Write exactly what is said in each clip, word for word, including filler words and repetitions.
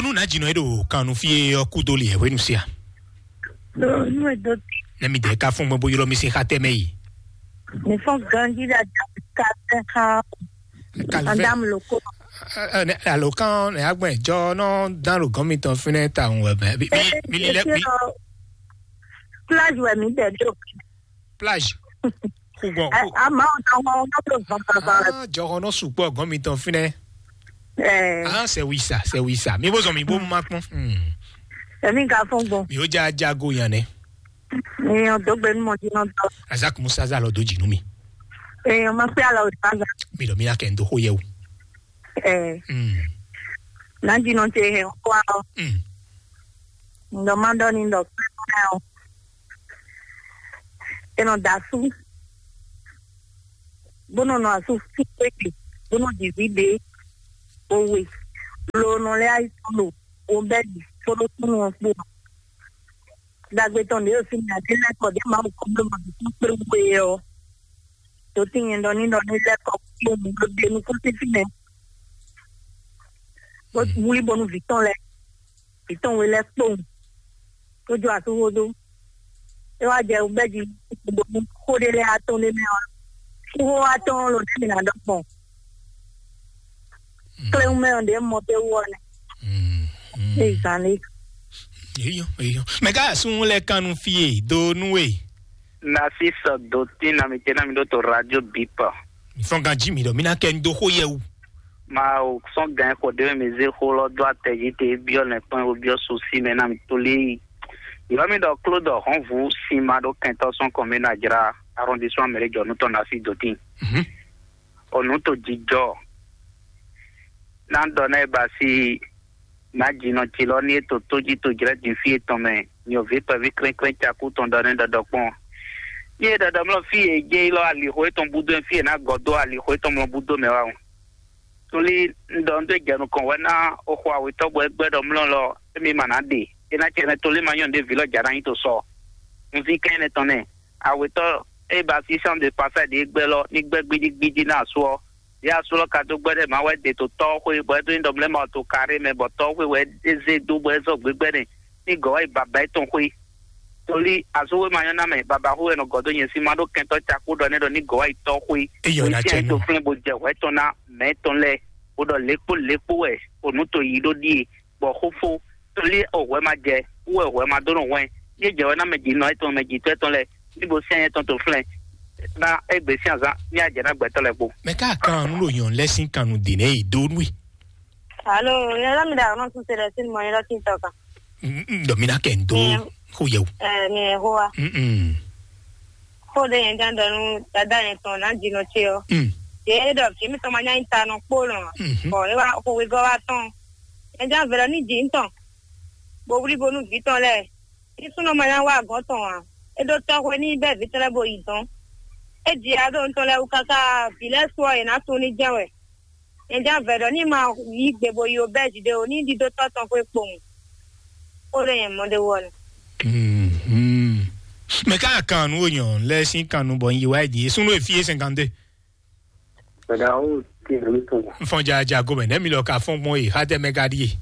Nú nǎ jǐnɔ e ɖo kan nú fí e ɔ́ kú dó li ɛ hwenu sia. Nú e dó. Ne mi dɛ ka fún gbɔn bó ylɔ́ mi sín xá tɛmɛ yi. Mi fɔ́n ganjí ɖe ajá ká tɛ xá. Madame Loko. Alo kan ne agbɛn jɔ nɔ dan ɖo gɔn mitɔn fínɛ ta ŋu wɛ mɛ. Mi mi li lɛ mi. Plage wɛ mi dɛ ɖo. Plage. Xu gbɔn xu. Ama o tɔn wọn wọn tó zɔn papa. Ah, jɔhɔn nɔ sukpɔ gɔn mitɔn fínɛ. Ɛɛ. Ah, c'est oui ça, c'est oui ça. Mi bó zɔn mi bó ma kpɔn. Hmm. Èmi ka fún gbɔn. Mi ó já jago yan nɛ. Èèyàn tó gbé ní mọ̀jú náà tọ́. Razak Musa zá lọ dó jì nú mi. Èèyàn máa pé àlọ́ òdì bá gbà. Mi lọ mi ná kẹ́ ń dó xó yẹ o. Ɛɛ. Hmm. Náà jìnnà ṣe hẹ̀ ń kó àlọ́. Hmm. Ǹdọ̀ má dọ́ ni ǹdọ̀ pé kó náà o. È nɔ da asú, bó nɔ nɔ asú fún pékè, bó nɔ jǐví ɖě, owe, lo nɔ lɛ́ ayǐtɔn lo, wo bɛ́ ɖi, kpódó súnnu ɔ́ kpó. Dagbe tɔn ɖě ɖo fínɛ́, ǎ ɖé lɛ́ kɔ ɖě Mawu kɔ bló mɔ ɖě kpé wú é ɔ́, ɖǒ tín nyɛ ɖɔ ní ɖɔ ní lɛ́ kɔ kpó mǐ ɖó ɖe nukún sín fínɛ́, bó wlí bónú vǐ tɔn lɛ́ɛ, vǐ tɔn we lɛ́ɛ kpowun, tó jó asúxó dó. É wá jɛ bɛ́ jí bónú xó ɖé lɛ́ɛ atɔ́n ɖé mɛ ɔ́, xó atɔ́n ló ɖé mǐ ná ɖɔ gbɔn. Kléwún mɛ ɔ́ ɖě mɔ pé wú ɔ́ nɛ́. Mm, mm. Ezǎn lé. Eyɔ, eyɔ. Mɛ ká asún lɛ kan nu fie do nú we. Nasi sɔ do tin na mi tena mi ɖo to radio bipa. Fɔn ganji mi ɖɔ mi ná kɛ n do xó yɛ wu. Ma o sɔn gan xɔ ɖe mi zé xó lɔ dó atɛji te biɔ nɛ kpɔn o biɔ susi mɛ na mi to lé yi. Yɔ mi ɖɔ klo ɖɔ hɔn vu sin ma ɖo kɛntɔ sɔn kɔn mi na jra arrondissement mɛri jɔ nutɔ nasi do tin. Mhm. O nú to jijɔ. Ná ɖɔ ná e ba si ná jinɔ ci lɔ ní e to tójí to jlɛ́ din fí etɔn mɛ, nyɔ̌ví kpɛví klɛ́nklɛ́n cakú tɔn ɖɔ nɛ́ ɖɔɖɔ kpɔ́n. Ní e ɖɔɖɔ mlɔ fí e jɛ yi lɔ alixo etɔn búdó fí e ná gɔ́ dó alixo etɔn mlɔ búdó mɛ wá o. Tolí un ɖɔ un ɖó jɛ nukɔn wɛ ná o xɔ awetɔ́ bɔ é gbɛ́ ɖɔ mlɔ lɔ émi ma ná ɖe. É ná cɛ nɛ tolí ma nyɔ́ ɖě vǐ lɔ jà ná nyi to sɔ. Un zín kɛn énɛ́ tɔn nɛ. Awetɔ́ e ba sísán de pasá ɖě gbɛ́ lɔ ní gbɛ́ gbídígbídí ná asú ɔ́, yě asú lɔ ka dó gbɛ́ ɖɛ má wɛ ɖe to tɔ́ xwé bɔ é ɖó nyí ɖɔ mlɛ́ ma to karé mɛ bɔ tɔ́ xwé wɛ é zé dó bɔ é zɔ gbégbɛ́ nɛ ní gɔ̌ wá yi baba étɔn xwé. Tolí asúxwé ma nyɔ́ ná mɛ, baba xwé wɛ nɔ gɔ̌ dó nyɛ sín má ɖó kɛntɔ́ cakú ɖɔ nɛ́ ɖɔ ní gɔ̌ wá yi tɔ́ xwé. Eyɔ ná cɛ nɔ. Fúnlɛ́ bó jɛ hwɛ̌ tɔn ná mɛ tɔn lɛ́ɛ, bó ɖɔ lékpó lékpó wɛ o nǔ to yí ɖó ɖíe, bɔ xófó tolí o hwɛ ma jɛ, wú wɛ hwɛ ma dó nɔ hwɛn. Yé jɛ wɛ ná mɛ jǐ nɔ étɔn mɛ jǐtɔ́ étɔn lɛ́ɛ, ní bo sɛ́n étɔn to flɛ́n ná égbé sín azán ní ajɛ ná gbɛtɔ́ lɛ́ɛ kpó. Mɛ ká kan nú ɖo nyɔ̌nu lɛ́ɛ sín kan nú dě nɛ́ yi dó nú i. Alo, yɛn lɔ mi ɖe aɖɔ̌ nɔ sún se ɖe sín mɔ yɛn lɔ tín tɔ kan. Ɖɔ mi ná kɛ n dó xó yɛ o. Ɛ mi yɛn xó wa. Mm-mm. Xó ɖe yɛn gán ɖɔ nú dada yɛn tɔn ná jinɔ ce ɔ́. Mm. Yě ɖɔ vǐ mitɔn ma nyá nyi ta nɔ kpó nɔ. Mhm. Bɔ é wá xo wegɔ́ wá tɔn. Yɛn gán vɛ̌ ɖɔ ní jǐ ntɔn. Bo wlí bo nú vǐ tɔn lɛ́ɛ. Ní súnnu ma nyá wá agɔ̌n tɔn ǎ. É ɖó tɔ́xwé ní bɛ́ vǐ tɔn lɛ́ɛ bo yi dɔ̌n. É ji ya ɖo nutɔn lɛ́ɛ wú káká vǐ lɛ́ɛ su ɔ́, yě ná tunwun ní jɛ́n wɛ. Nyɛ jɛ́n vɛ̌ ɖɔ ní ma yí gbe bo yi obɛ́zi ɖé o, ní ɖidó tɔ́ tɔn xwé kpowun. Xó ɖé nyɛ mɔ ɖé wú ɔ́ nɛ. Mhm. Mɛ ká kan nú onyɔ lɛ sín kan nú bɔ un yi wá yi din. Súnnu e fí é cinquante-deux. Mɛɖa ó ti nɔ mi tún. N fɔn ja ja gomɛ nɛ mi lɔ ka fɔn gbɔn e ha tɛ mɛ ka ɖie.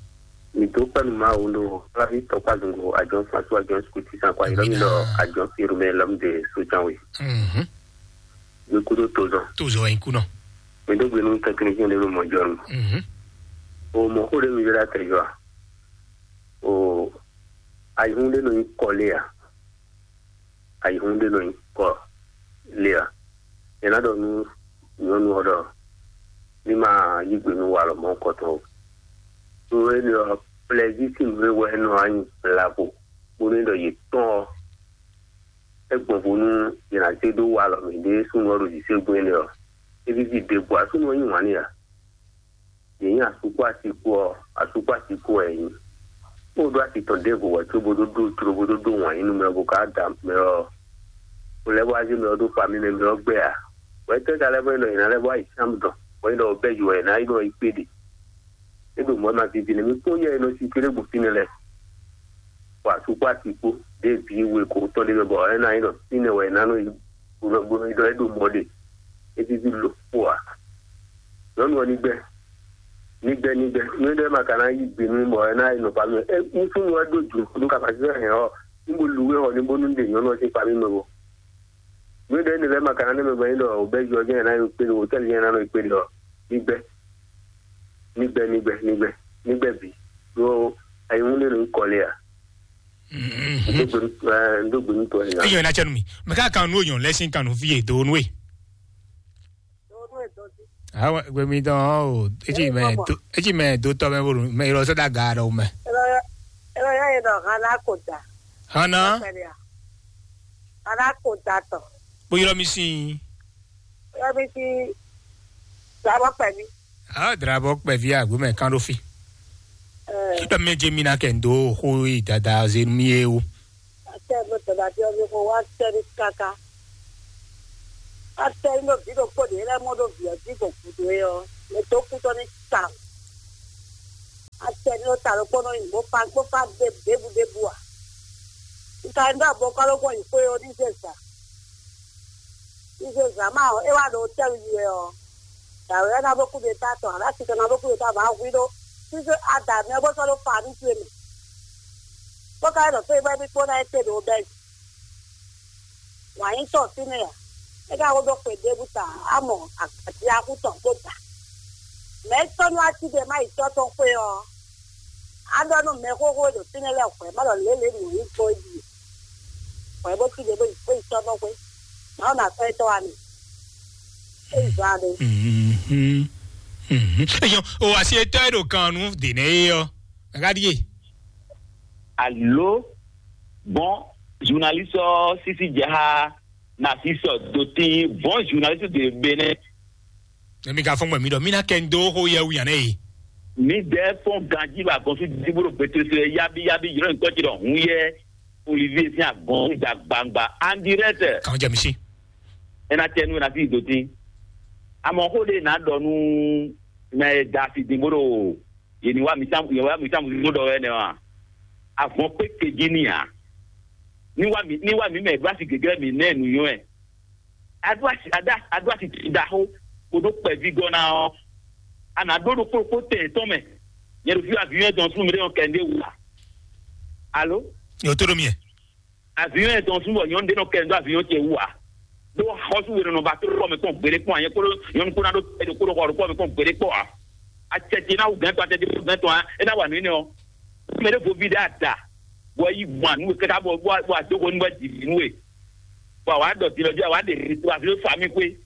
Mi dó pɛnu ma wo lo flavi tɔkpa zungo ajɔ fasu ajɔ skuti san kwa yɔrɔ mi lɔ ajɔ firu mɛ lɔm de sojan we. Mhm. Mi kudo tozɔn. Tozɔn in kunɔ. Mi dó gbenu technicien de mi mɔ jɔnu. Mhm. O mɔ xó ɖé mi yɔrɔ atɛ jɔ a. O ayihun ɖé nɔ nyi kɔ lé a. Ayihun ɖé nɔ nyi kɔ lé a. Yě ná ɖɔ nú nyɔ̌nu ɔ́ ɖɔ ní ma yí gbe nú walɔ mɔ̌hunkɔtɔn o. Ɖó énɛ́ ɔ́, plɛzísi nǔ e wɛ é nɔ wá nyi blago bónú é ɖɔ yě tɔ́n ɔ́, é gbɔn vo nú yě ná zé ɖó walɔ mǐɖée súnnu ɔ́ ɖo zǐségbɔ́n énɛ́ ɔ́. É víví ɖěbǔ ǎ, súnnu ɔ́ yí wǎn n'i ǎ. Yě nyí asú kpó asi kpó ɔ́, asú kpó asi kpó wɛ é nyí. Bó ɖó asi tɔn ɖěvo wɛ có bó dó ɖó jló bó dó ɖó wǎn yí nú mɛ ɔ́, bó ka da mɛ ɔ́, bó lɛ́ bó wá zé mɛ ɔ́ ɖó famí mɛ mɛ ɔ́ gbɛ ǎ. Hwɛ̌ tɛ́ ka lɛ́ vɔ é nɔ yě ná lɛ́ bó wá yi Syam dɔn, bɔ é nɔ bɛ́ yi wɛ è nǎ yi nɔ yi kpé ɖe. É ɖo mɔ̌ ma vivi nɛ́ mì kpɔ́n yɛ e nɔ si kplé gbɔn fínɛ́ lɛ́ɛ. Bɔ asú kpó asi kpó ɖěe bǐ we kǒ tɔn ɖé mɛ bɔ é ná nyí ɖɔ fínɛ́ wɛ è nǎ nɔ yi bó nɔ bó nɔ yi ɖɔ é ɖo mɔ̌ ɖe. É víví lǒ kpó ǎ. Nyɔ̌nu ɔ́ ní gbɛ́. Nigbɛ nigbɛ, nú ɖé ma ka ná yí gbe nú bɔ é ná yi nɔ famille. É, nú súnnu wɛ ɖó jǔ nú kaka sísɛ hɛn ɔ́, nú bo lu wé xɔ ní bónú ɖe nyɔ̌nu ɔ́ sín famille mɛ bo. Nú ɖé ne lɛ́ ma ka ná nɛ mɛ gbɛ́ ɖɔ o bɛ́ jɔ jɛ́n ná yi kpé ɖo hôtɛ́li jɛ́n ná nɔ yi kpé ɖɔ nigbɛ, nigbɛ, nigbɛ, nigbɛ, nigbɛ bǐ. Ɖó ayihún ɖé nɔ nyí kɔ lé a? Ɖó gbe nú, ɛ, ɖó gbe nú tɔ ɛ. Eyɔ ná cɛ nú mi. Mɛ ká kan nú oyɔn lɛ sín kan nú fí e do nú e. Awa gbe mi dɔn o. Etí mɛ do etí mɛ do tɔ mɛ bolo mɛ yɔrɔ sɛ da ga ɖɔ mɛ. Ela ya ela ya ye dɔ hana ko da. Hana. Hana ko da tɔ. Kpo yɔrɔ mi sin. Ela mi si dabɔ pɛmi. Ah, drabɔ kpɛvi agbo mɛ kan ɖo fi. Ɛ. Ɖɔ mɛ je mi na kɛ ndo xo yi dada ze mi ye o. Atɛ nɔ tɛnɛ ati ɔ́ mi xo wá tɛ ní káká. Atɛ ní ɖo vǐ ɖokpó ɖě lɛ́ɛ mɔ ɖó vǐ ɔ́ jí gbɔn gǔdo é ɔ́, mɛ dó kú tɔ́ ní ta o. Atɛ ní ɖo ta ɖokpó nɔ nyi bó fa bó fa ɖe ɖěbǔ ɖěbǔ ǎ. Un ka ní ɖɔ abɔkɔ́ ɖokpó yi xwé ɔ́ ní zɛ zǎ. Ní zɛ zǎ ma ɔ́, é wá ɖo tɛ́ yi wɛ ɔ́, dǎwe ɔ́ ná bó kú ɖe ta tɔn, alá titɔ ná bó kú ɖe ta bǎ hwí ɖó. Sísé ada mɛ bó sɔ́ ɖó fa ní towe mɛ. Bó ka yi ɖɔ fé bɔ é ní kpó ná é te ɖo bɛ́. Wǎn nyí tɔn fínɛ́ ǎ. É ka ko ɖó xwe ɖěbǔ ta, á mɔ agbadé axú tɔn kpó ta. Mɛ̌ tɔ́ nú atíɖɛ má yi tɔ́ tɔn xwé ɔ́, á ɖɔ nú mɛxóxó e ɖo fínɛ́ lɛ́ɛ hwɛ̌ má ɖɔ lě lě nǔ nyí gbɔn é ɖíe. Hwɛ̌ bó tíɖɛ bó yi bó yi tɔ́ tɔn xwé. Má ɖo nǎ sɔ́ étɔ́ wá mi. É yi zɔ́n aɖé. Mhm. Mhm. Eyɔn, o asi etɔ́ e ɖo kan nú dě nɛ́ é ɔ́, a ka ɖíe. Alo, bon, journaliste ɔ́ sísí jɛ xá na sísɔ dotín bon journaliste de Bénin. Emi ka fɔn gbɛ mi ɖɔ mi na kɛ ndo xo yɛ wu yan ne yi. Mi dɛ fɔn ganji ba gɔn fi dibo ɖo gbetesɛ yabi yabi yɔrɔ nkɔ ti ɖɔ hun yɛ Olivier sin agɔn da gbangba en direct. Kan jɛ mi si. Ena tɛ nu ena fi dotín. Amɔ xo de na ɖɔ nu mɛ da fi din bo ɖo ye ni wa mi sam ye wa mi sam zo ɖɔ wɛ nɛ wa. Avɔn kpe keji ni a. Ni wa mi ni wa mi mɛ gba si gegre mi nɛ nu yɔn ɛ. Adu asi ada adu asi ti da xo ko ɖo kpɛvi gɔna ɔ. Ana ɖo ɖo kpokpo tɛ tɔn mɛ. Nyɛ ɖo fi avion tɔn sun mi ɖe yɔn kɛ nde wu a. Alo. Yo to ɖo mi. Avion tɔn sun bɔ nyɔnu ɖe nɔ kɛ nde avion tɛ wu a. Ɖo xɔsu wɛ nɔ ba to kɔ mɛ kpɔn gbede kpɔn a nyɛ kolo nyɔnu kó na ɖo ɛdi kolo xɔ ɖo kɔ mɛ kpɔn gbede kpɔ a. Atsɛtsi na wu gɛn tɔn atsɛtsi na wu gɛn tɔn a e na wa nɔ yi nɛ ɔ. Mɛ ɖe vo vi ɖe ada. Bɔ yi gbɔn anu kaka bɔ bɔ bɔ adogo nu bɔ didi nu e. Bɔ awa dɔ dilɔ di awa de wa fi fa mi kwe.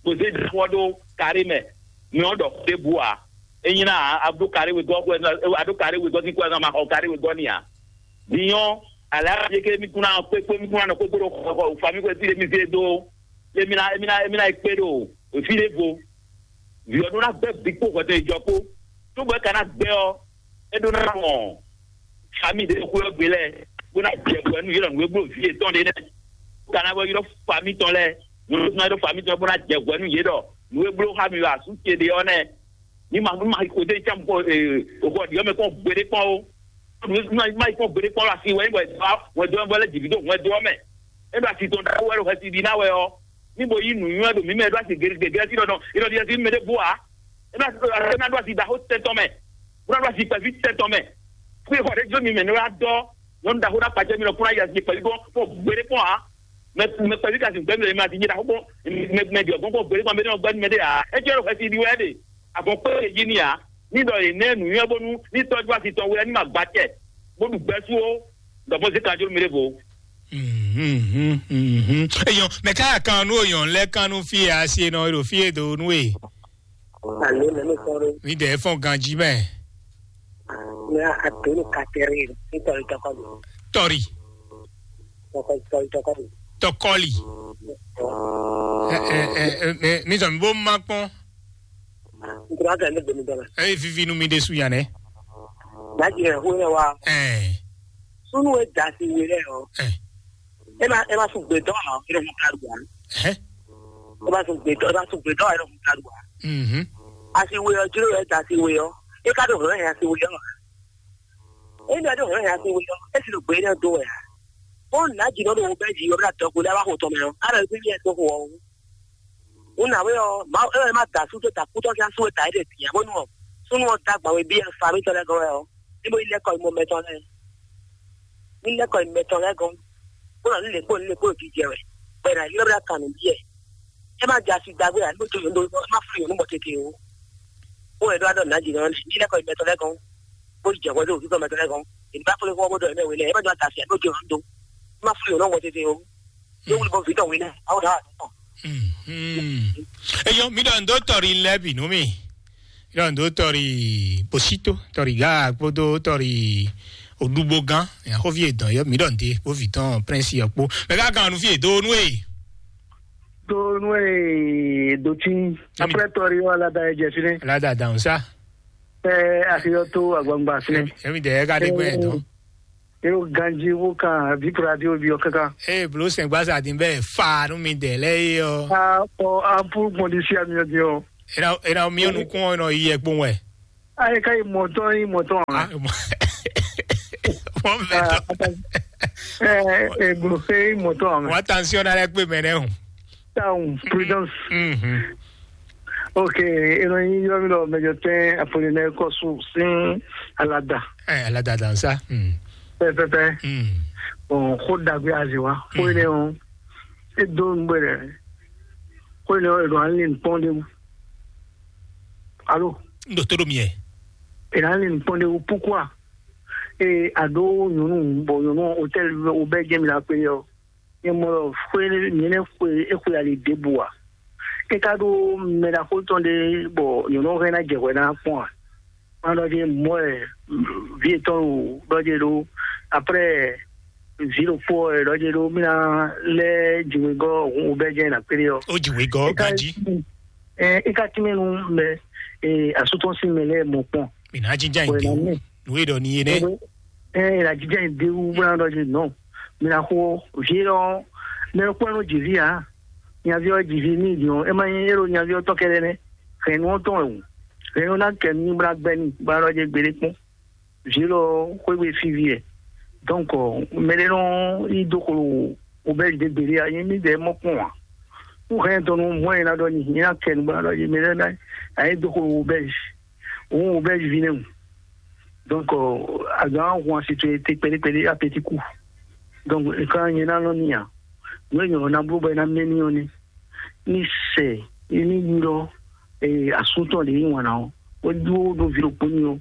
Kò se ɖe xɔ ɖo kari mɛ. Mi ɔ dɔ ɖe bu a. Enyi na a ɖo kari we gɔ kwe a ɖo kari we gɔ ki kwe a ma xɔ kari we gɔ ni a. Dinyɔ ala ye ke mi kuna kpekpe mi kuna nɔ kpekpe ɖo xɔ xɔ fa mi kwe fi ɖe mi se do. Emi na emi na emi na yi kpe ɖo fi ɖe vo. Vǐ ɔ́ ɖó ná gbɛ́ vǐ kpó hwɛtɛn jɔ kpó. Tó bɔ é ka ná gbɛ́ ɔ́, é ɖó ná mɔ fami ɖé xwé ɔ́ gbe lɛ́ɛ, bó ná jɛ hwɛ nú yě ɖɔ nǔ e bló vǐ yětɔn ɖé nɛ́. Bó ka ná bɔ ylɔ́ fami tɔn lɛ́ɛ, nyɔ̌nu ná ylɔ́ fami tɔn bó ná jɛ hwɛ nú yě ɖɔ nǔ e bló xá mi ɖo asú ce ɖé ɔ́ nɛ́. Ní ma ní ma xo dé ncá xɔ ɖiɔ mɛ kpɔn gbeɖé kpɔn ó. Ní ma ní ma yi kpɔn gbeɖé kpɔn asi wɛ ní bɔ wɛ dó wɛ lɛ jìbí dó wɛ dó ɔ́ mɛ. É ɖo asi tɔn ɖaxó wɛ ɖo xɛsi ɖi ná wɛ ɔ́. Ní bo yí nǔnywɛ́ ɖo mǐ mɛ ɖó asi gěgé sí ɖɔ nɔ é nɔ ɖi asi mɛ ɖé bú ǎ. É ná é ná ɖó asi ɖaxó tɛn tɔn mɛ. Bó ná ɖó asi kpɛví tɛn tɔn mɛ. Fú xɔ ɖé jó mi mɛ ní wá dɔ nyɔnu ɖaxó ná kpàjẹ́ mi lɔ kó ná yi asi kpɛví kpɔn kpɔn gbeɖé kpɔn ǎ. Mɛ mɛ kpɛví ka sin gbɛmí lɛ mi asi nyɛ ɖaxó kpɔn mɛ mɛ ɖi ɔgbɔn kpɔn gbeɖé kpɔn mɛ ní ɔgbɛni mɛ ɖé ǎ. É jẹ́ ɖo xɛsi ɖi wɛ ɖe. Avɔn kpé e jí ni ǎ. Ní ɖɔ yě nɛ́ nǔnywɛ́ bónú ní tɔ́jú asi tɔn wɛ ní ma gba acɛ, bó ɖu gbɛ́ sú ó, ɖɔ bó zé kanjló mi ɖěvo. Mhm, mhm. Eyɔn, mɛ ká kan nú oyɔn lɛ kan nú fí e asi e nɔ ɖo fí e do nú e. Alo, mɛ mi kɔrɔ. Mi dɛ fɔn ganji mɛ. Ní àdéhùn kàtẹ́rì nítorí tọkọ mi. Tɔri. Tọkọ tọkọ tọkọ mi. Tɔkɔli. Ɔ. Ɛ ɛ ɛ ɛ mi sɔ mi bó ma kpɔn. Nkura gɛ ne gbemi dɔla. Eye vivi nu mi ɖe su yan nɛ. Daji ɛ hu yɛ wa. Ɛɛ. Sunu e da si we lɛ yɔ. Ɛ. E ma e ma sun gbe dɔ a e ma sun karu wa. Ɛ. E ma sun gbe dɔ e ma sun gbe dɔ a e ma sun karu wa. Mhm. Asi we yɔ jiro yɛ da si we yɔ. E ka do hɛn asi we yɔ. E ma do hɛn asi we yɔ. E si do gbe ne do ya. O na ji nɔ do wo bɛ ji yɔ bla dɔ gbe la wa ho tɔ mɛ yɔ. Ara e bi yɛ to ho. Wǔ nǎwe ɔ́, Mawu é wɛ ma da asú dó ta kútɔ́ sín asú e ta é ɖe bǐ ǎ bónú ɔ́, Súnnu ɔ́ dó agban we bí ɛ fa mítɔn lɛ́ɛ gɔ́n wɛ ɔ́, ní bó yi lɛ́ kɔ yi mɔ mɛtɔn lɛ́ɛ. Ní lɛ́ kɔ yi mɛtɔn lɛ́ɛ gɔ́n, bó nɔ ní lě kpó ní lě kpó ɖo jijɛ wɛ, bɔ è nǎ ylɔ́ bó ná kan nǔ byɔ́ ɛ. É má jɛ asi ɖagbe ǎ, ní bó dó yǒ má fún yǒ nú mɔ tete o. Bó wɛ ɖó adɔ nǎ jǐ nɔ ní lɛ́ kɔ yi mɛtɔn lɛ́ɛ gɔ́n, bó yi jɛ hwɛ dó òfin mɛtɔn lɛ́ɛ gɔ́n. È ní bá kplé xó bó ɖɔ ɛmɛ we lɛ, é má jɔ ata asi ǎ, ní bó dó yǒ nú dó. Má fún yǒ nú mɔ tete o. Yóò wuli bɔ vǐ tɔn wí nɛ, awo dá wà tɔn. Mhm. Eyɔ, mi ɖɔ ndo tɔri lɛ bi nú mi. Mi ɖɔ ndo tɔri Bosito, tɔri Ga kpódó tɔri Odugbo gán. Yaxɔvi edɔn yɔ, mi ɖɔ nde bó vǐ tɔn Prince yɔ kpó. Mɛ ká kan nu fi edo nu e. Do nu e do tí. Après tɔri wà ládàá ẹ jẹ fínɛ. Ládàá dàn sá. Ẹ àṣeyọ tó àgbàǹgbà fínẹ. Èmi dẹ̀ ẹ ká dé gbẹ́ ẹ̀ tán. Eo ganji wo kan vipu radio bi ɔ kaka. Ee, blo sɛn gbasa din bɛ fa nu mi dɛ lɛ ye ɔ. A ɔ ampu gbɔn di si ami ɔ di ɔ. Ena ena mi ɔ nukun ɔ nɔ yi yɛ kpɔn wɛ. A yi ka yi mɔtɔn yi mɔtɔn a. Mɔ mɛ tɔ. Ɛ ɛ blo se yi mɔtɔn a mɛ. Wa tansiɔn na lɛ kpe mɛ nɛ o. Town prudence. Mhm. Ok, eno yi yɔ mi lɔ mɛjɔ tɛn Apollinaire Kɔsu sin alada. Ɛ alada dansa. Mm. Pɛpɛpɛ. Mm. Bon, xó dagbe azi wa. Xó yi ne o. E do nugbe dɛ. Xó yi ne o, e do ali nkpɔn de mu. Alo. N do to do miɛ. E do ali nkpɔn de mu, pourquoi? E a do nyɔnu, bon, nyɔnu hôtel o bɛ jɛ mi la pe yɔ. Nyɛ mɔ ɖɔ xwé nyɛ nɛ xwe e xwe ali ɖěbǔ ǎ. É ka ɖó mɛ ɖaxó tɔn ɖé bɔ nyɔ̌nu ɔ́ hɛn ná jɛ hwɛ ná kpɔ́n ǎ. Má ɖɔ jɛ mɔ̌ wɛ vǐ yětɔn ɖo ɖɔ jɛ ɖó. Après vǐ ɖokpó ɔ́ wɛ ɖɔ jɛ ɖó mí ná lɛ́ jiwegɔ́ hun wobɛ́ jɛ ná kplé ɔ́. Ó jiwegɔ́ É ka ganjí. Ɛ é ka tínmɛ nú mɛ e asú tɔn sín mɛ lɛ́ɛ mɔ kpɔ́n. Mǐ ná jínjɔ́n ayǐ Wɛ ná dé mɛ. Nǔ e ɖɔ ní é nɛ́. Ɛ ɛ la jija yi de wu bla ɖɔ je nɔ. Mi na xo vie lɔ ne kpɔn no dzi vi a. Nyavi ɔ dzi vi ni di ɔ, e ma nyi ero nyavi ɔ tɔ kɛɖɛ nɛ. Hɛn nu ɔ tɔn wɛ wu. Hɛn nu na kɛ nu bla gbɛ ni bla ɖɔ je gbeɖe kpɔn. Vie lɔ xwegbe fi vi ɛ. Donc mɛ ɖe nɔ yi do xolo wo bɛ de gbeɖe a, nyi mi de mɔ kpɔn a. Nu hɛn tɔn nu mɔ e na ɖɔ ni, nyi na kɛ nu bla ɖɔ je mɛ ɖe na ayi do xolo wo bɛ. Òun ò bɛ vivi nɛ o. Donc, euh, azǎn ahwan si towe te kpɛɖékpɛɖé apetiku. Donc, nǹkan nyɛ ná nɔ ní ǎ. Nú èèyàn ná bló bɔ é ná mɛ ní ɔ́ ní. Ní sɛ ní ylɔ́ asúntɔ́ ɖě yí wǎn ná ɔ́, bó dó ɖó ví ɖokpó ní ɔ́,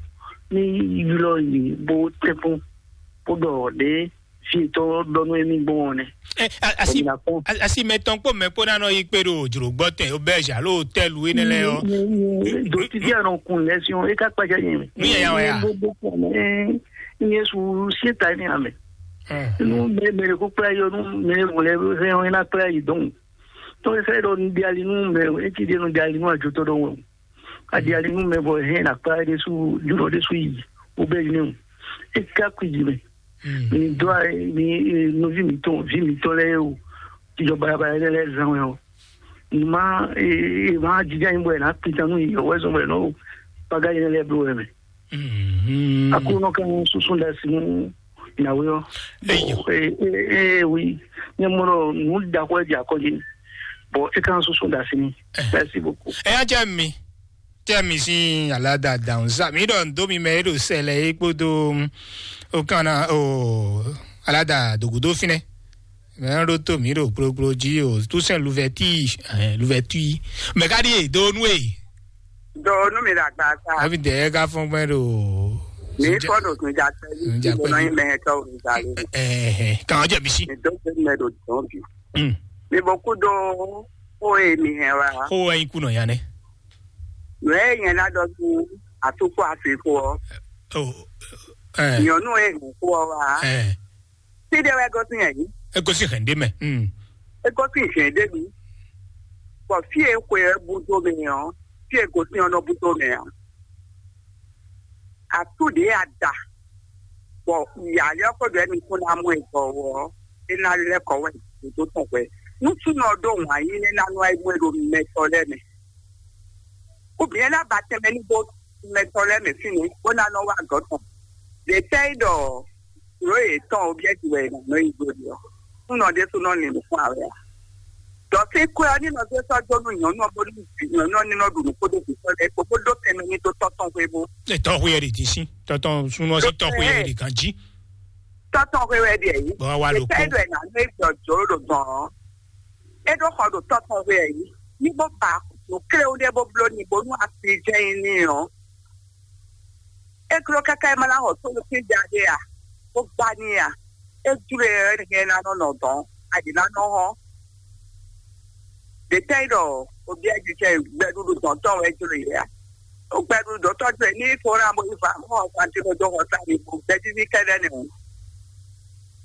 ní ylɔ́ yě bó tɛ́nkpɔ́n bó ɖɔ ɖě fí yětɔn ɖɔ nú émí gbɔn ɔ́ nɛ́. Ɛ, a- asi Bɔ mi ná kpɔ́n. A- asi mɛtɔn kpó mɛ kpó ná nɔ yi kpé ɖo jlǒgbɔ́ tɛn, auberge alo hôtel énɛ́ lɛ́ɛ ɔ́. Dotidi anɔ kun lɛ si ɔn, e ka kpaja nyɛ mɛ. Nu yɛ ya wɛ ya? Bo bo kpɔn mɛ. Nyɛ su sie ta ni amɛ. Ɛ. Nu mɛ mɛ ko kpla yɔ nu mɛ mo lɛ hɛn ɔn na kpla yi dɔn. To e fɛ dɔ nu di ali nu mɛ, e ti di nu di ali nu ajo to dɔ wɛ. A di ali nu mɛ bɔ hɛn na kpla de su juro de su yi. O bɛ ne o. E ka kui di mɛ. Mi dó a mi nɔví mǐtɔn ví mǐtɔn lɛ́ɛ o, jijɔ balabala lɛ́ɛ lɛ́ɛ zán wɛ ɔ́, mi má e má jija nyi bɔ è nǎ kpintan nú yě wɛ zɔn bɔ è nɔ baga yɛn lɛ́ɛ bló wɛ mɛ. Aklúnɔ kan súsú ɖe asi nú nǎwe ɔ́. Eyo. Ee wi, nyɛ mɔ ɖɔ nǔ ɖaxó wɛ jɛ akɔji, bɔ é kan súsú ɖe asi n'i. Merci beaucoup. Ɛ yá jẹ́ mi. Tɛ mi sín alada dawun sa mi ɖɔ ndo mi mɛ e ɖo sɛlɛ e kpódó o kan na o alada dogudo finɛ. Mɛ ɖo to mi ɖo kplokplo jí o, tout sɛn luvɛti luvɛti mɛ ka ɖi e do nu e. Do nu mi ɖo agba sa. Abi dɛ ka fɔn gbɛ ɖo. Mi fɔ ɖo sunjata yi. Sunjata yi. Nɔ yi mɛ tɔ o nzali. Ɛɛ kan jɛ mi si. Mi do se mɛ ɖo dɔn bi. Mi bɔ ku do o e mi hɛn wa. Ko wɛ yi kunɔ ya nɛ. Nǔ e nyɛ ná ɖɔ nú atúkpó afixo ɔ́, Oh, eh, nyɔ̌nu e hɛn xó ɔ́ wá, eh, fí ɖé wɛ gosín ɛ yí. E gosín hɛn ɖé mɛ. Mm. E gosín hɛn ɖé mi. Bɔ fí e xwe ɛ bú dó mɛ ɔ́, fí e gosín ɔ́ nɔ bú dó mɛ ɔ́. Atú ɖě a da, bɔ yǎyá ɔ́ kó ɖɔ ɛ́ mi kún ná mɔ ɛ gbɔ ɔ́, é ná lɛ́ kɔ wɛ dǒdó tɔn hwɛ. Nú súnɔ ɔ́ ɖó wǎn yí nɛ́ ná nɔ wá yi mɔ ɛ ɖo mɛtɔ́ lɛ́ɛ mɛ. Ou bien é ná ba tɛnmɛ ní bó mɛtɔ́ lɛ́ɛ mɛ fínɛ́ bó ná nɔ wá gɔ̌ tɔn. Ɖě tɛ́ é ɖɔ nǔ e tɔn o byɛ́ ji wɛ è nǎ nɔ yi dó ɖe ɔ́, súnɔ ɖésú nɔ lin nǔkún ǎ wɛ a? Dɔ fí kwɛ ɔ́ ní nɔ zé sɔ́ dó nú nyɔ̌nu ɔ́, bónú nyɔ̌nu ɔ́ ní nɔ ɖu nǔ kpódó vǐ tɔn lɛ́ɛ kpó, bó dó tɛnmɛ ní dó tɔ́ tɔn hwévú. Tɔ́ hwé ɛ ɖě dín sín, tɔ́ tɔn súnú ɔ́ sín tɔ́ hwé ɛ ɖě gán jí. Tɔ́ tɔn hwé wɛ ɖi ɛ yí. Bɔ wá ló kó. Ètò ɛ nà ní gbɔ jǒ ɖo dɔn ɔ́. É ɖó xɔ ɖo tɔ́ tɔn hwé ɛ yí. Ní bó ba nǔ kléwú ɖé bó bló ní bónú asi jẹ́ yín ní ɔ́. É gló káká é má ná xɔ tónú sín ja ɖé a? Bó gbá ní a? É jló e ɔ́, é ná nɔ nɔ dɔn, aɖě ná nɔ hɔn. Ɖě tɛ́ nyí ɖɔ obyɛ́jijɛ gbɛɖuɖu dɔ̌n tɔn wɛ jló e a? Ó gbɛɖuɖu dɔ̌n tɔn jló e ní fó ná bó yi fa mɔ xɔ santi bó dó xɔ sá mi bó gbɛjíví kɛ́ɖɛ́ nɛ́ o.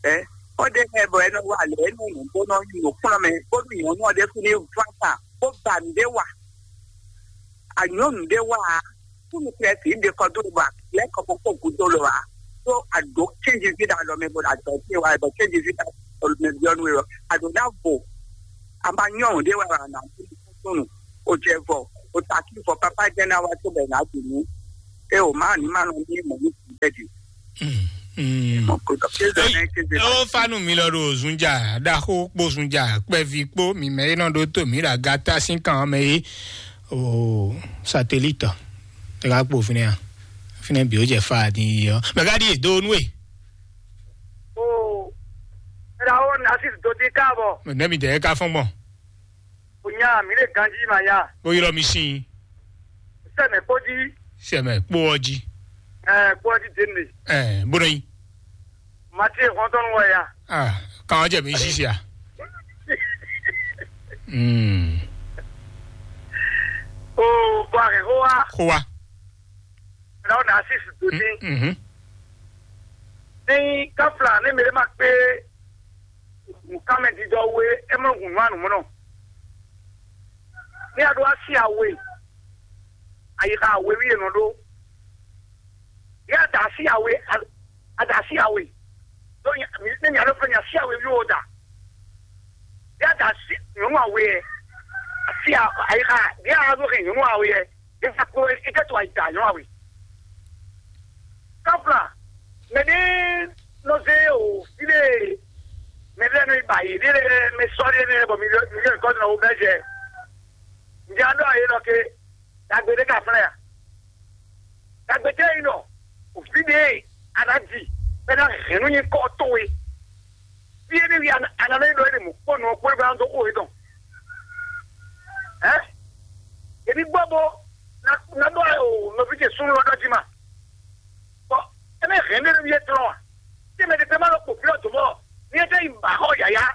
Ɛ ó ɖe mɛ bɔ é nɔ wa lě é nɔ nǔ bó nɔ nyi nǔkplɔ́nmɛ bónú nyɔ̌nu ɔ́ ɖésú ní ván sa bó ba nǔɖé wa. Anyɔ̌nu ɖé wá a, kúnnu Klɛ́si ɖe kɔ dó bɔ lɛ́ kɔ kpókpó gúdo lɔ a, ɖó a ɖǒ kéjizí ɖo alɔ mɛ bɔ a dɔ̌ ce wá bɔ kéjizí ɖo alɔ mɛ byɔ́ nú we ɔ́, a ɖǒ ná vo. A ma nyɔ́ ɖé wá a nǎ kúnnu, o jɛ vɔ, o ta kí vɔ pápá jẹ́ ná wá tó bɛ nǎ dì nú. É o má ní má nɔ ní mɔ̌ ní kú bɛ́ di. Ó fanu mi lɔ ɖo zunja ɖaxó kpó zunja kpɛvi kpó mi mɛ e nɔ ɖó tó mi ɖo agata sín kan mɛ é. O satelite ɛ ka kpó fínɛ a? Fínɛ bí ó jɛ fa din yi ɔ mɛ ka ɖi do nú e. O ɛɖa ó nasi do dín káàbọ̀. Nɛ mi dɛ ka fɔn gbɔn. O nya mi le ganji ma nya. Ó ylɔ mi sín. Sɛmɛ kpó jí. Sɛmɛ kpó ɔ jí. Ɛ kpó ɔ jí dé ne. Ɛ bó nɔ yí. Mati hɔntɔn wɔ ya. Ah, kan ɔ jɛ mi sisi a. Mm. O bɔ a hɛn xó wa. Xó wa. Ɛɖa ó nasi do dín. Mhm. Ní káfla ní mi lè má kpé nǔkanmɛdídɔ we é mɔ hùn nú anǔmɔnɔ. Ní a ɖó asi awe, ayixa awe wí è nɔ ɖó. Ní a da asi awe, a da asi awe. Ɖó nya mi ní nya ɖó fɛn nya asi awe wí o da. Ní a da asi nyɔ̌nu awe yɛ, asi ayixa ní a ɖó hɛn nyɔ̌nu awe yɛ. Eza kpo eke to ayi ta nyɔ awe. Kafla mɛ ɖe nɔ zé o fide mɛ lɛ nɔ ba yi ɖe lɛ mɛ sɔ ɖe lɛ bɔ mi lɛ mi lɛ kɔ nɔ wo bɛ jɛ. Ndi an dɔ ayi nɔ ke dagbe ɖe ka flɛ ya. Dagbe tɛ yi nɔ o fide ana di bɛ na hɛn nu nyi kɔ to we. Fí énɛ́ wi a nǎ lɛ́ ɖɔ énɛ́ mɔ̌kpɔ́nɔ ɔ́ kpɔ́n gbá dó xó yětɔn. Hɛ̌? Yě ní gbɔ bó ná ɖɔ nɔví ce súnnu ɔ́ ɖɔ jí ma. Bɔ é mɛ hɛn ɖé nɔví étɔn a? Tí mɛ ɖé ma lɔ kpo fí ɔ́ dǒ mɔ ní é tɛ́ yi ba xɔ yǎyá.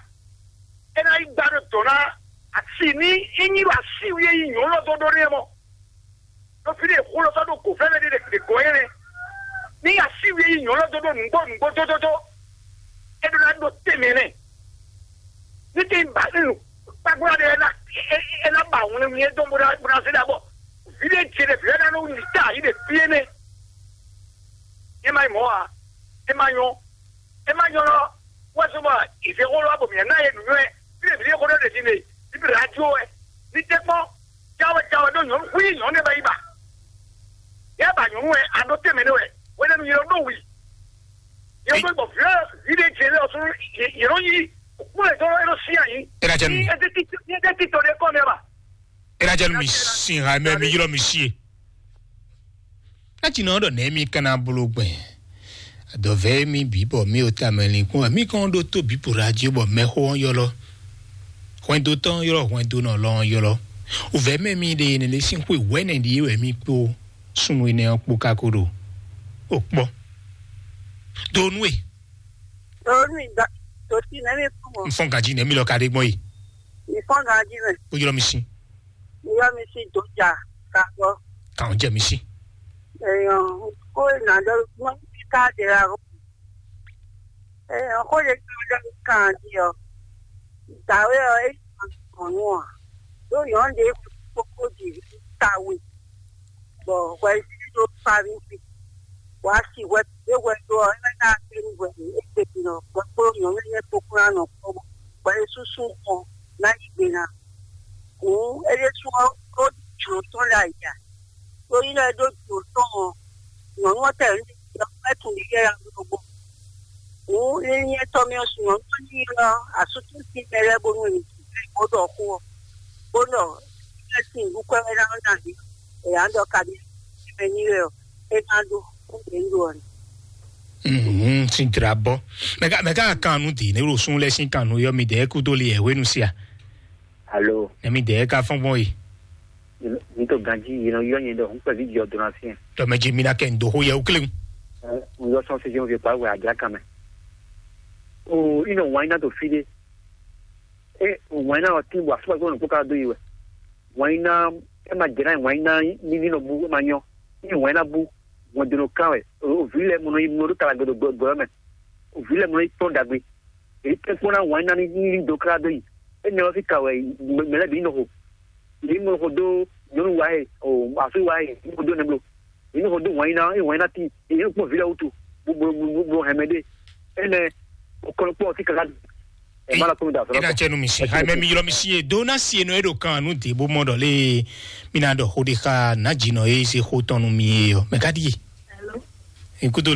É ná yi gbá ɖo dɔ̌ ná asi ní é nyí ɖo así wi e yi nyɔ̌nu ɔ́ dó ɖó n'i é mɔ. Ɖo fí ɖé xó lɔ sɔ́ ɖo gǒ fɛ́nɛ ɖé ɖe gɔ́ nyɛ nɛ́. Ní así wi e yi nyɔ̌nu ɔ́ dó ɖó nǔgbó nǔgbó dódódó. É ɖó ná ɖó tɛnmɛ nɛ́. Ní tí ba ní nu kpákplá ɖé ɛ ná ɛ ná ba wlɛnwlɛn dó bó ná bó ná zé ɖa bɔ vǐ ɖé ce ɖé vǐ ná nɔ wuli tá yi ɖe fí énɛ́. É má nyí mɔ̌ ǎ. É má nyɔ́. É má nyɔ́ lɔ wɛ sɔ́ bɔ ìzé xó lɔ bɔ mǐ ná yɛ nǔnywɛ́ fí ɖé vǐ ɖé xó ɖɔ ɖe din ɖe ní bǐ ɖo ajo wɛ ní tɛ́ kpɔ́n jáwé jáwé ɖó nyɔ̌nu xwí nyɔ̌nu ɖé bá yi ba. Yɛ ba nyɔ̌nu wɛ a ɖó tɛnmɛ nɛ wɛ wɛ nɛ́ nu yɛ ɖó wǔ yi. Yɛ ɖó gbɔ vǐ vǐ ɖé jɛ lɛ ɔsún yɛ ɖó yí kú lɛ dó é ɖó sí ayǐ. Ena jɛ nu. Ní ɛdí títí ní ɛdí títí ɖé kọ́ nɛ ba. Ena jɛ nu mi sin ha mɛ mi ylɔ mi sie. Ná ci nɔ ɖɔ nɛ̌ mi ka ná bló gbɛn? Adɔ̌vɛ́ mi bǐ bɔ mi ò tamɛ linkpɔ́n wɛ mi kɔn ɖó tó bǐ po ɖo ají bɔ mɛxó ɔ́ ylɔ́. Hwɛndo tɔn ylɔ́ hwɛndo nɔ lɔ ɔ́ ylɔ́. Wǔvɛ́ mɛ mi ɖe nɛɖé sín xwe wɛ̌nɛ ɖíe wɛ mi kpó súnnu énɛ́ ɔ́ kpó ka ko ɖo. O kpɔ́. Do nú e. Tòónú ìgbà tó ti nẹ́mí fún wọn. N fɔ́n ganjí nɛ̌ mi lɔ ka ɖe gbɔn yi. Ìfọ́n ganjí mẹ́. Ó ylɔ́ mi sí. Ìyá mi sí dòjà kàgbọ́. Kàn jẹ́ mi sí. Èèyàn kó ìnàdọ́ wọn ti ká dèrà o. Èèyàn kó lè gbé ọjọ́ mi kàn án di ọ. Ìgbàwé ọ é kàn án nù ọ. Lóyún ọ̀ lè kókó dì í kàwé. Bɔ hwɛ yíyí ɖó Falizi. Wǎ si hwɛ ɖě hwɛ ɖó ɔ́, é ná kpé nú hwɛ ɖě é gbe din ɔ́, hwɛ kpó nyɔ̌nu énɛ́ kpó kún ná nɔ kpɔ́ bɔ hwɛ e súsú gbɔn ná yi gbe ná. Hǔn é ɖésú ɔ́, ó ɖi jlǒ tɔn ɖo ayǐ ǎ. Ɖó yi lɛ́ɛ ɖó jlǒ tɔn ɔ́, nyɔ̌nu ɔ́ tɛ nǔ ɖé ɔ́, é tunwun ɖiɖɛ ɔ́ ɖokpó. Hǔn lílíɛ́tɔ́ mì ɔ́, nyɔ̌nu ɔ́ ní ylɔ́ asútúsi mɛ lɛ́ɛ bónú è ní tunwun. bó ɖɔ xó ɔ́, bó nɔ ɛ sin nǔ kwɛ́ wɛ ná ná ɖi, è yǎ ɖɔ kaɖi mɛ ní wɛ ɔ́, é ná ɖó kó ɖě ɖó ɔ́. Mhm, sin dra bɔ. Mɛ ka mɛ ka kan nu di ne ɖo sun lɛ sin kan nu yɔ mi dɛ kudo li ɛ wenu sia. Alo, Ne mi dɛ ka fɔn gbɔn yi. N to ganji yi nɔ yɔ nyɛ ɖɔ hun kpɛvi jɔ dona fiɛ. Tɔ mɛ ji mi na kɛ ndo ho yɛ ukle. N yɔ sɔn se jɛn fi pa wɛ adra kan mɛ. O ino wine na to fi de. E wine na ɔti wa so ko no ka do yi wɛ. Wine na e ma jɛ na wine na ni ni no bu ma nyɔ. Ni wine na bu. Ŋun dino kan wɛ. O vi lɛ mo no yi mo do kala gbedo gbɔ mɛ. O vi lɛ mo no yi tɔn dagbe. Èyí tẹ́ kpɔ́n ná wǎn ná ní ní dó klá dó yi. Énɛ́ ɔ́ fí ka wɛ mɛ lɛ́ɛ bǐ nɔ xo. Yě nɔ xo dó nyɔ̌nu wa e, o asú wa e, nɔ xo dó nɛbló. Yě nɔ xo dó wǎn ná, é wǎn ná tín, yě nɔ kpɔ́n vǐ lɛ́ɛ wútu, bó bó bó bó hɛn mɛ ɖé. Énɛ́ o kɔn kpɔ́n ɔ́ fí ka ká. Ɛ má lɔ kpɔ́n da sɔlɔ. Ena tsɛ nu mi si. Hai mɛ mi ylɔ mi si e do na si e nɔ e ɖo kan nu de bó mɔ ɖɔ lé. Mi na ɖɔ xo ɖe xa na dzi nɔ e se xo tɔn nu mi e yɔ. Mɛ ka ɖi ye. Ikudo